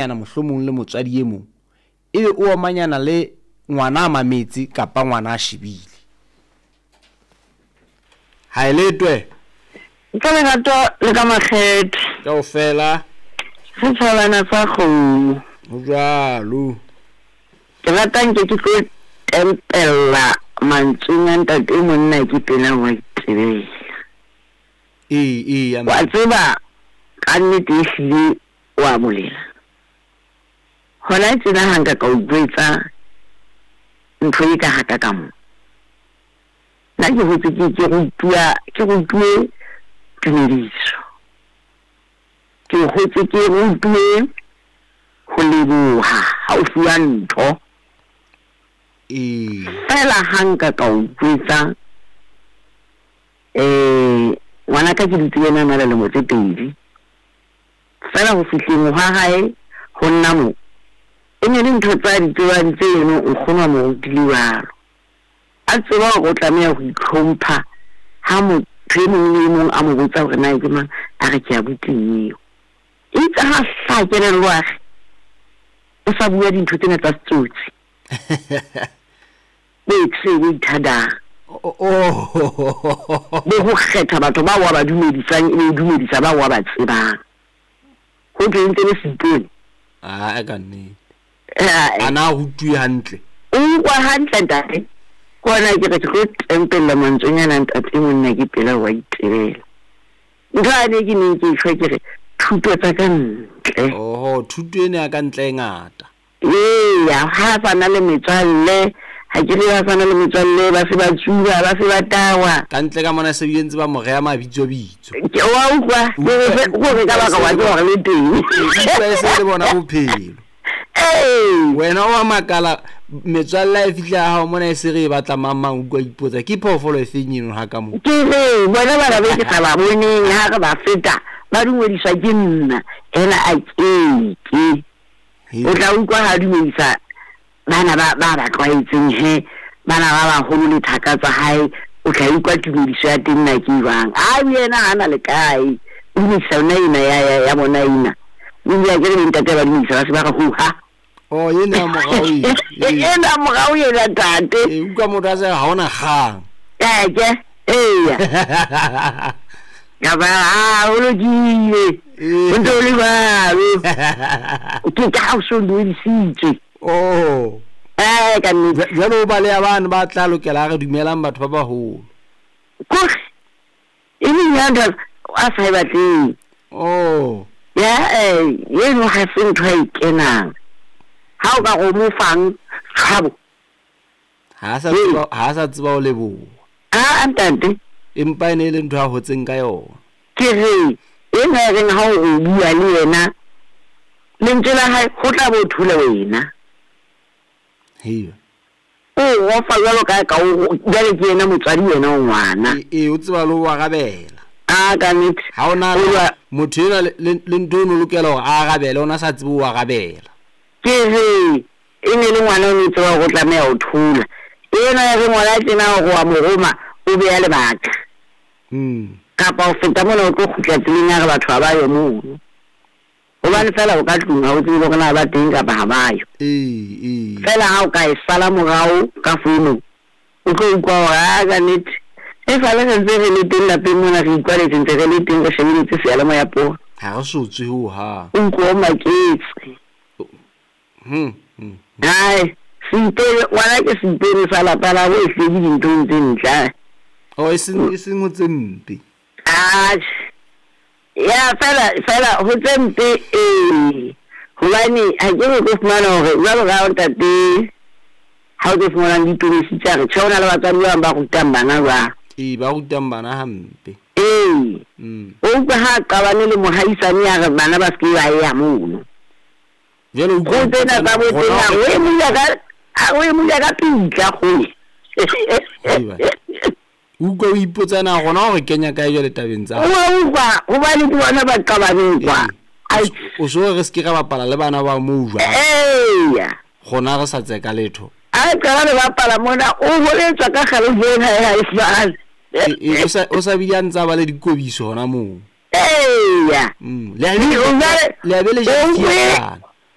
Mohlomong le motswadi e mong ebe o omanyana le ngwana a mametse kapa ngwana a shebile. Haeletwe. Ka lerato le ka makgethe. Kaofela. Re tjhabana sa kgomo. Ho jwalo. Ke rata nke ke tlo tempella mantsweng a ntate monna ke pela wa itebela. Ee, ee. Wa tseba ka nnete ehlile wa bolela. Hona tjena ha nka ka o jwetsa ntho e ka haka ka mo. Nna ke hotse ke ke rutuwa ke rutuwe tumediso. Ke hotse ke rutuwe ho leboha ha o fuwa ntho. Ee. Fela ha nka ka o jwetsa ngwanaka ke dutse le yena a na le lemo tse 2. Fela ho fihleng hwa hae ho nna mo e ne le ntho tsa di tsebang tse eno nkgono a mo rutile jwalo. A tseba hore o tlameha ho itlhompha ha motho e mong le e mong a mo botsa hore na ke mang, a re ke abuti eo. Itse ha hlaha kelello a re o sa bua dintho tsena tsa setsotsi. Bo se bo ithadang. Bo ho kgetha batho bao wa ba dumedisang ebe o dumedisa bao wa ba tsebang. Ho thwe ntse le seipone. Ah, ka nnete. A na rutuwe hantle. O utlwa hantle ntate. Ke hona ke re ke tlo tempella mantswenyana ntate monna ke pela wa itebela. Ntho ane ke neng ke tjho ke re thuto tsa ka ntle. Oho, thuto ena ya ka ntle e ngata. Eya, ha sa na le metswalle, ha ke re ha sa na le metswalle ba se ba tsuba, ba se ba tawa. Ka ntle ka mona se bile ntse ba mo reha mabitso bitso. Ke wa utlwa, ke re ka baka wa tseba hore le teng. Utlwa e se le bona bophelo. Ee. Wena wa makala metswalle e fihla ha hao mona e se re e batla mang mang utlwa ipotsa ke phoofolo e feng eno ha ka mo. Ke re bona bana be ke sa ba boneng ha re ba feta ba dumediswa ke nna ena a keke. O tla utlwa ha dumedisa bana ba ba ba tlwaetseng he bana ba baholo le thaka tsa hae o tla utlwa tumediso ya teng na ke jwang. A yena ha na le kae o dumedisa yona ena ya bona ena. O ile a ke re le ntate ba dumedisa ba se ba re ho ha. Oh, ena morao ena. Ena morao ena ntate. E utlwa motho a se ha ona kgang. Ke eya. Ka ba ha o lokile. O ntse o le jwalo. Ke ka ha o so dumedisitswe. Oh. Ka nnete. Jwale o baleha bane ba tla lokela re dumelang batho ba baholo. Kore e leng ya ntho a sa e batleng. Oh. Ya eno ha se ntho a e kenang. Ha o ka re o mo fang tshabo. Ha sa tseba ho leboha. A ntate. Empa ene e le ntho a hotseng ka yona. Ke re ena e reng ha o bua le yena lentswe la hae ho tla bo thole wena. Hei. O rofa jwalo ka ka o jwale ke yena motswadi wena o ngwana. E o tseba le ho arabela. A ka nnete. Ha ona motho ena le ntho o lokela hore a arabele ona sa tsebe ho arabela. Ke re e ne le ngwana o ne tseba hore o tlameha ho thola. Ena ya re ngwana tjena hore wa mo roma o beya lebaka. Kapa o feta mona o tlo kgutla tseleng ya re batho ha ba yo mono. Hobane fela o ka tlung ha o tsebe hore na ba teng kapa ha ba yo. Ee. Fela ha o ka e sala morao ka founung o tlo utlwa hore a ka nnete. E sale re ntse re le teng lapeng mona re ikwaletse ntse re le teng re shebeletse seyalemoya poho. Ha re so tswe ho hang. O utlwa o maketse. Hai, seipone ngwana ke seipone sa lapa la bo e hlweki dinthong tse ntle. Oh, e seng ho tse mpe. Atjhe. Ya fela ho tse mpe ee. Hobane ha ke re tlo fumana hore jwalo ka ntate ha o tlo fumana ditonesi tsa re tjhe hona le batswadi ba bang ba rutang bana jwang. Ee, ba rutang bana hampe. Ee. O utlwa ha qabane le mohaisane ya re bana ba se ke ba ya mono. Jwale o utlwa tsena tsa bo tsena o e mula ka pitla kgole. Utlwa o ipotsa na rona hore kenya kae jwale tabeng tsa. O utlwa hobane ke bona ba qabaneng kwa. O so re se ke ra bapala le bana ba moo jwang. Eya. Rona re sa tseka letho. A qala le bapala mona o boletswa ka kgale jena ha e fane. O sa bile a ntsa ba le dikobiso hona moo. Eya. Le a be le ja.